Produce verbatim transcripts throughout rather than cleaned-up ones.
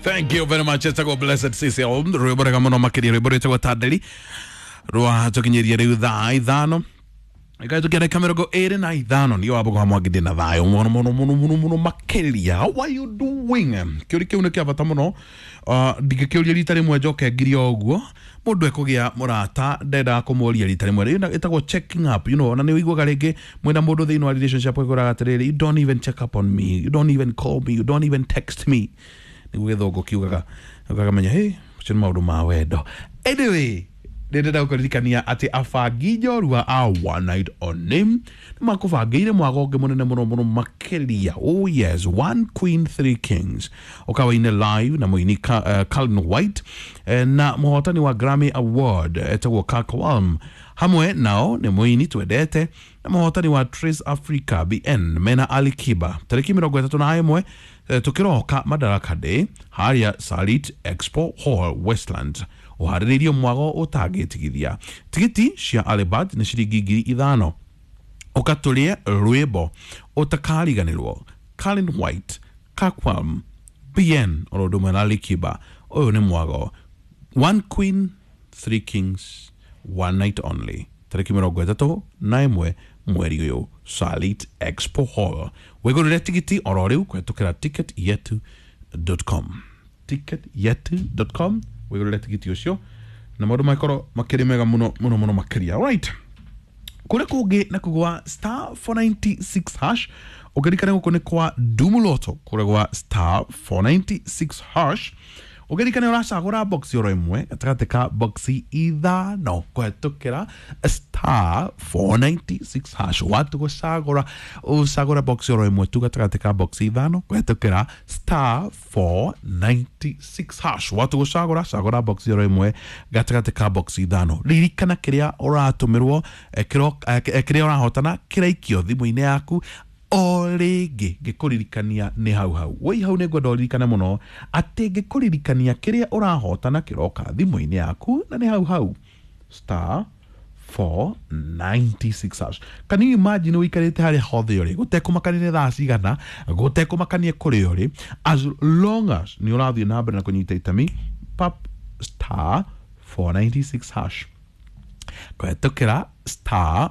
Thank you very much. Etagwo Blessed Cecil rwĩmbo rwega mũno makĩria, rwĩmbo rwĩtagwo Tanderi rwatũkinyĩria rĩu thaa ithano ikaitukia dakika mĩrongo ĩrĩ na ithano. Niyo wabũgwa mwangĩ na thayũ mũno mũno mũno mũno mũno makĩria. How are you doing? Kĩũria kĩu nĩ kĩa bata mũno. uh, ndingĩkĩũria rita rĩmwe njoke ngirie o ũguo. Mũndũ ekũgĩa mũrata ndendaga kũmũria rita rĩmwe. Ĩyo ĩtagwo checking up you know Na nĩ ũiguaga rĩngĩ mwĩna mũndũ thĩinĩ wa relationship ĩkwĩraga atĩrĩrĩ, "You don't even check up on me, you don't even call me, you don't even text me," nĩguo gĩthũngũ kiugaga. Ũkamenya, hey, macio nĩ maũndũ ma wendo. Anyway, ndĩrenda gũkũririkania atĩ abangi njorua a One Night Only nĩ makũbangĩire mwago ũngĩ mũnene mũno mũno makĩria. Oh yes, One Queen Three Kings, ũkawaine live na mũini Ka, uh, Calvin White, eh, na mũhotani wa Grammy Award etagwo Kirk Walm. Hamwe nao nĩ mũini twendete na mũhotani wa Trace Africa B N mena Ali Kiba, tarĩki mĩrongo ĩtatũ na ĩmwe, eh, tũkĩroka Madaraka Day harĩa Sarit Expo Hall, Westland. Ũharĩrĩirio mwago ũtangĩtigithia. Tigiti cia Alibad nĩ ciringi ngiri ithano. Ũkatũrĩe rwĩmbo ũtakariganĩrwo. Colin White, Kakwam, B N oro ũndũ ũmwe na Ali Kiba. Ũyũ nĩ mwago One Queen Three Kings, One Night Only, tarĩki mĩrongo ĩtatũ na ĩmwe mweri ũyũ, Salit Expo Hall. Wĩgũrĩre tigiti oro rĩu kũhetũkĩra ticket yetu dot com, ticket yetu dot com. Wĩgũrĩre tigiti ũcio na maũndũ makorwo makĩrĩ mega mũno mũno mũno makĩria. Right, kũrĩa kũngĩ na kũgwa star four ninety-six hash. Ũngĩrikana gũkũ nĩ kwa Dumuloto, kũrĩa gwa star four ninety-six hash. Ũngĩrikana ũracagũra box oro ĩmwe gatagatĩ ka boxi ithano kũhetũkĩra star four ninety-six hash. Watu gũcagũra, ũcagũra box oro ĩmwe tu gatagatĩ ka box ithano kũhetũkĩra star four ninety-six hash. Watu gũcagũra, cagũra box oro ĩmwe gatagatĩ ka box ithano. Ririkana kĩrĩa ũratũmĩrwo, eh, kĩro- eh, eh, kĩrĩa ũrahotana kĩraikio thimũ-inĩ yaku o rĩngĩ. Ngĩkũririkania nĩ hau hau woi hau, nĩ ngwenda ũririkane mũno atĩ ngĩkũririkania kĩrĩa ũrahotana kĩroka thimũ-inĩ yaku na nĩ hau hau, star four ninety-six hash. Can you imagine ũikarĩte harĩa hothe ũrĩ, gũtekũmakania nĩ thaa cigana, gũtekũmakania kũrĩa ũrĩ, as long as nĩ ũrathiĩ na mbere na kũnyita itemi pap star four ninety-six hash, kũhetũkĩra star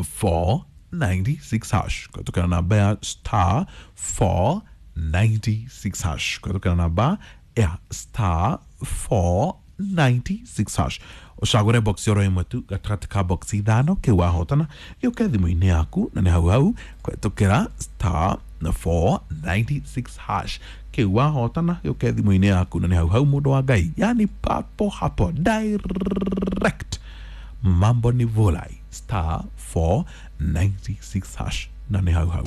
four ninety-six hash, kũhetũkĩra namba ya star four ninety-six hash, kũhetũkĩra namba ya star four ninety-six hash, ũcagũre box oro ĩmwe tu gatagatĩ ka box ithano. Kĩu wahotana gĩũke thimũ-inĩ yaku na nĩ hau hau kũhetũkĩra star four ninety-six hash. Kĩu wahotana gĩũke thimũ-inĩ yaku na nĩ hau hau, mũndũ wa Ngai, yani papo hapo direct, mambo ni vulai. Star four ninety-six hash na nĩ hau hau.